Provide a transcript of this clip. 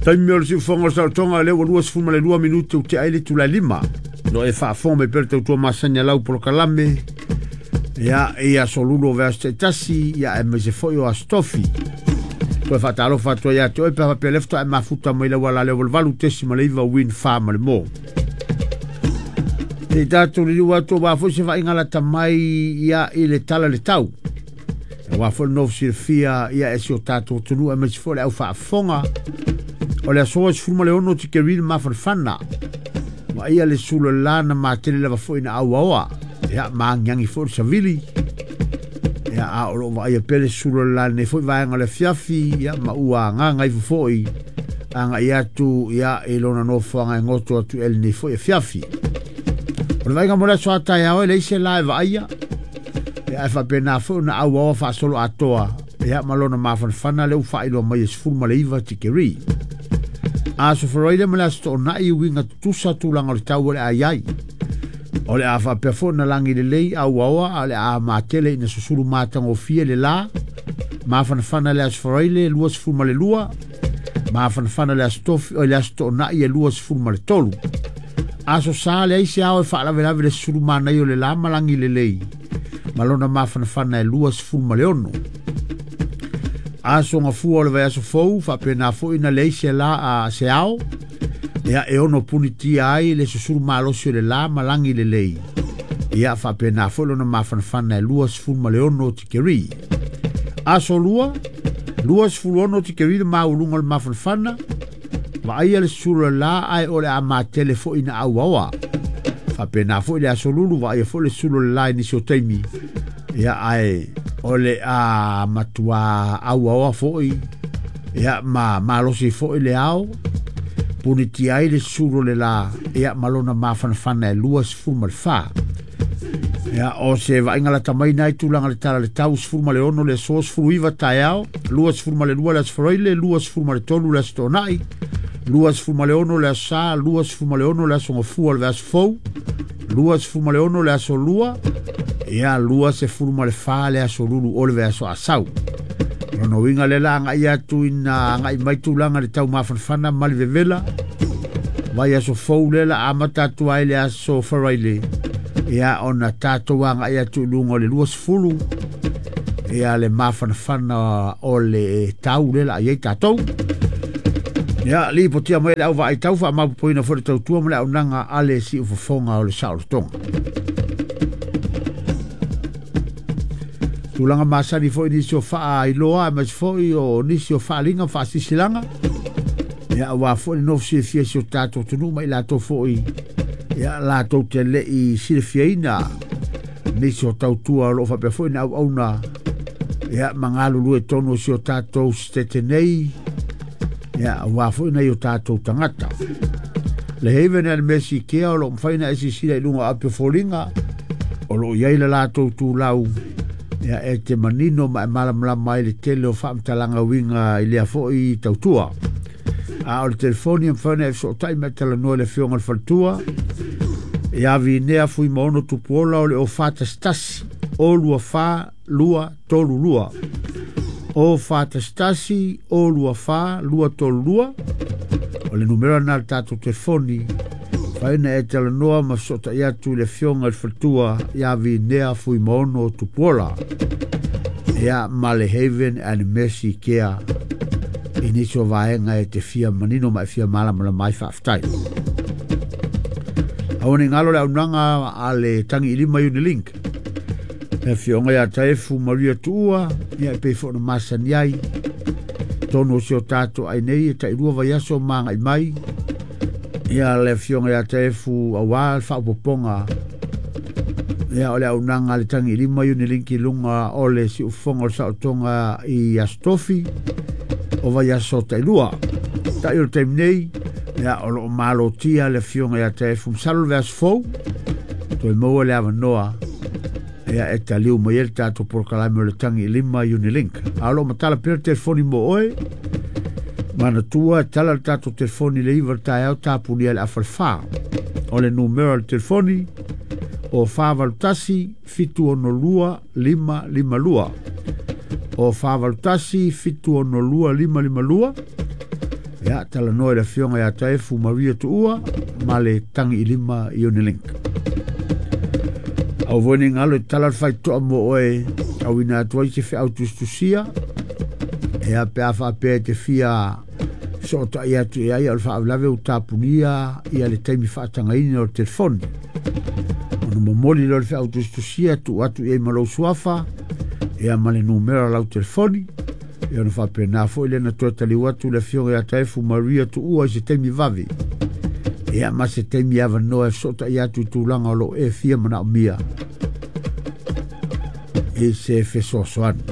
Taimi o le siufofoga o le saolotoga lea ua 22 minute ua tea ai le itula e 5. Lo e faafofoga mai pea le tautua masani a lau polokalame ia i aso lulu o vaiaso taitasi ia aemaise foi o aso tofi. Toe faatalofa atu ai ia te oe pe a faapea lea faatoa e mafuta mai lau ala lea 88.9 Win 4 ma le mo. Se i tatou liliu atu aua foi se vaaiga lata mai ia i le tala le tau. Aua foi le nofo silafia ia e si o tatou atunuu aemaise foi le au faafofoga. O le aso 16 tikeri le mafanafana. Vaaia le sula la na matele lava foi na auaoa. Ia maangiangi foi le savili. Ia a o loo vaaia pea le sula la nei foi vaega o le afiafi. Ia ma ua agaga ifo foi agai atu ia i lona nofoaga e goto atu e lenei foi afiafi. O le vaaiga mo le aso a taeao e leai se la e vaaia. Ia ae faapena foi ona auaoa faasolo atoa. Ia ma lona mafanafana lea ua faailoa mai e 19 tikeri. Aso Faraile ma le aso Toonai uiga tutusa tulaga o le tau o le a i ai. O le a faapea foi ona lagi lelei auaoa a o le a matele ina susulu matagofie le la. Mafanafana le aso Faraile 22, mafanafana le aso Tofi o le aso Toonai e 23. Aso Sa leai se ao e faalavelave le susulu manaia o le la ma lagi lelei ma lona mafanafana e 26. Aso gafua o le vaiaso fou faapena foi na leai se la a se ao ia e ono punitia ai le susulu malosi o le la ma lagi lelei. Ia faapena foi lona mafanafana e 26 tikeri. Aso lua, 26 tikeri le maualuga o le mafanafana. Vaaia le susulu o le la ae o le a matele foi na auaoa. Faapena foi le aso lulu vaaia foi le susulu o le la i nisi o taimi. Ia ae o le a matua auaoa foi ia ma malosi foi le ao. Punitia ai le susulu o le la ia ma lona mafanafana e 24. Ia o se vaaiga lata mai nai tulaga le tala le tau 16 le aso 19 taeao, 22 le aso Faraile, 23 le aso Toonai, 26 le aso Sa, 26 le aso Gafua o le vaiaso fou, 26 le aso Lua, ia 24 le aso Lulu o le vaiaso Asau. Lona uiga le la agai atu ina agai mai tulaga le tau mafanafana ma le vevela. Vaiaso fou le la amata atu ai le aso Faraile. Ia ona tatou agai atu i luga o le 20. Ia le mafanafana o le tau le la i ai tatou. Ia lipotia mai le au vaai tau faamapopoina foi le tautua ma le auaunaga a le siufofoga o le saolotoga. Tulaga masani foi nisi o faailoa aemaise foi o nisi o faaaliga ma faasisilanga. Ia aua foi le nofo silafia i si o tatou atunuu ma i latou foi ia latou te le i silafiaina nisi o tautua o loo faapea foi na auauna ia ma galulue tonu o si o tatou setete nei ia aua foi nai o tatou tagata. Le Haven and Mercy Care o loo mafai ona e silasila i luga o api o foliga o loo i ai le latou tulau ia e te manino ma e malamalama ai le tele o faamatalaga uiga i lea foi tautua. A o le telefoni e mafai ona e fesootai ma e talanoa i le afioga i le faletua ia Vinea Fuimaono Tupuola o le o 411 o 24 232 o 411 o 24 232 o le numera na le tatou telefoni mafai ona e talanoa ma fesootai atu i le afioga i le faletua ia Vinea Fuimaono Tupuola ia ma le Haven and Mercy Care i nisi o vaega e te fia manino ma e fia malamalama ai. Faafetai. Aua ne i galo le auaunaga a le tagi i lima Unilink. Le afioga ia Taefu Maria Tuua, ia e pei foi ona masani ai. Tonu o si o tatou ai nei e tailua vaiaso ma agai mai. Ia le afioga ia Taefu aua le faaopoopoga. Ia o le auaunaga a le tagi i lima Unilink i luga o le siufofoga o le saolotoga i Aso Tofi o vaiaso tailua. Tai o le taimi nei, ia o loo malotia le afioga ia Taefu masalo le vaiaso fou. Toe maua le avanoa ia e taliu mai ai le tatou polokalame o le tagi i lima Unilink. A o loo matala pea le telefoni mo oe. Manatua e tala le tatou telefoni le 9 le taeao tapunia le afa le 4. O le numera o le telefoni o 481 762 552. O 481 762 552. Ia talanoa i le afioga ia Taefu Maria Tuua ma le tagi i lima i Unilink. Aua foi ne i galo e tala le faitotoa mo oe auina atu ai se feau tusitusia ia pe a faapea e te fia fesootai atu i ai, a o le faalavelave ua tapunia ia le taimi faatagaina o le telefoni. Ona momoli lea o le feau tusitusia tuu atu i ai ma lou suafa ia ma le numera o lau telefoni. Ia ona faapena foi lea na toe taliu atu le afioga ia Taefu Maria Tuua i se taimi vave ia ma se taimi avanoa e fesootai atu i tulaga o lo o e fia manaomia i se fesoasoani.